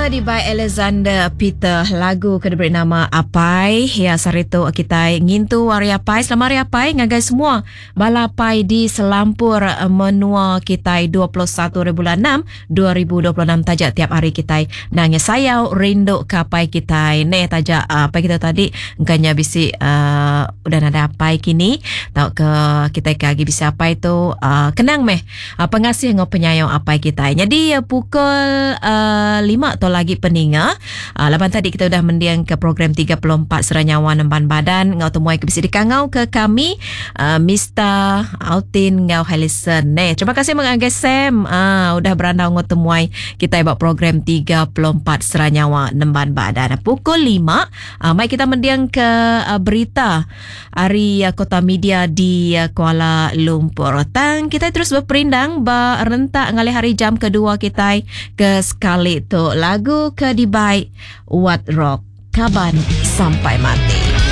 ke dibai Alexander Peter lagu ke diberi nama Apai. Ya sehari tu kitai ngintu Hari Apai. Selamat Hari Apai ngagai semua bala apai di selampur menua kitai 21 hari bulan 6 2026 taja tiap hari kitai nangis sayau rindu ke apai kitai. Neh taja apai kita tadi engka nya bisi uh, udah nadai apai kini tauka kitai ke agi bisi apai tu uh, kenang meh Pengasih enggau penyayau apai kitai. Nyadi pukul uh, 5 tu lagi peninga. Uh, laban tadi kita udah mending ke program 34 Sera Nyawa Nemban Badan enggau temuai ke bisi dikangau ke kami uh, Mista Altin enggau Helison. Neh, terima kasih mengagai Sam uh, udah berandau enggau temuai kitai ba program 34 Sera Nyawa Nemban Badan. Pukul 5 uh, mai kita mending ke uh, berita ari Kota Media di Kuala Lumpur. Tang kitai terus beperindang ba rentak ngalih hari jam kedua kitai ke sekali tu. Lagu ke dibai Wat Rock, Kaban Sampai Mati.